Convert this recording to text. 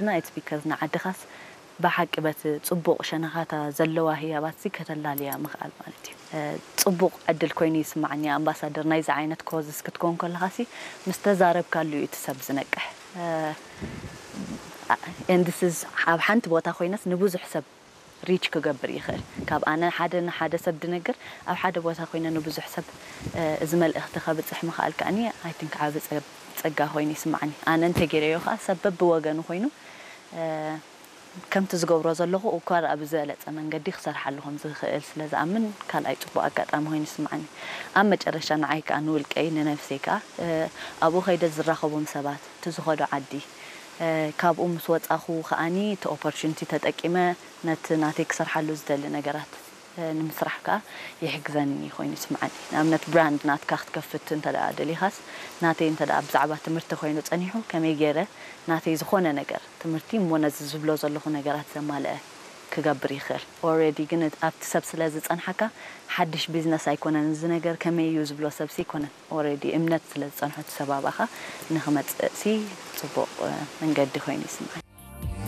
It's because ንዓድኻስ ብሓቂ በቲ ጽቡቕ ሸነኻታ ዘለዋ ህያባትሲ ከተላልያ ምኽኣል ማለት እዩ። ጽቡቕ ዕድል ኮይኑ ይስማዓኒ ኣምባሳደር ናይዚ ዓይነት ኮዝስ ክትኮን ከለኻሲ ምስ ተዛረብካሉ እዩ እቲ ሰብ ዝነቅሕ። And this is ኣብ ሓንቲ ቦታ ኮይነስ ንብዙሕ ሰብ ሪች ክገብር ይኽእል። ካብ ኣነ ሓደ ንሓደ ሰብ ድነግር ኣብ ሓደ ቦታ ኮይነ ንብዙሕ ሰብ እዚ መልእኽቲ ከብፅሕ ምኽኣል ከኣኒ I think ዓብ ጸጋ ኮይኑ ይስማዓኒ። ኣነ እንተገይረዮ ከዓ ሰብ በብወገኑ ኮይኑ ከምቲ ዝገብሮ ዘለኹ እኳ ኣብ ዝበለፀ መንገዲ ክሰርሓሉ ከም ዝኽእል ስለ ዝኣምን ካልኣይ ፅቡቅ ኣጋጣሚ ኮይኑ ይስማዓኒ። ኣብ መጨረሻ ንዓይ ከዓ ንውልቀይ ንነብሰይ ከዓ ኣብኡ ከይደ ዝራኸቦም ሰባት እቲ ዝኸዶ ዓዲ ካብኡ ምስ ወፃኹ ከኣኒ እቲ ኦፖርቹኒቲ ተጠቂመ ነቲ ናተይ ክሰርሓሉ ዝደሊ ነገራት ንምስራሕ ከዓ ይሕግዘኒ ኮይኑ ይስምዓኒ። ንኣብነት ብራንድ ናትካ ክትከፍት እንተ ደኣ ደሊኻስ ናተይ እንተ ደኣ ብዛዕባ ትምህርቲ ኮይኑ ጸኒሑ ከመይ ገይረ ናተይ ዝኾነ ነገር ትምህርቲ እሞ ነዚ ዝብሎ ዘለኹ ነገራት ዘማልአ ክገብር ይኽእል። ኦረዲ ግን ኣብቲ ሰብ ስለ ዝጸንሓካ ሓድሽ ቢዝነስ ኣይኮነን እዚ ነገር ከመይ እዩ ዝብሎ ሰብሲ ኣይኮነን። ኦረዲ እምነት ስለ ዝጸንሖ እቲ ሰብ ኣባኻ ንኽመጽእሲ ጽቡቕ መንገዲ ኮይኑ ይስምዓኒ።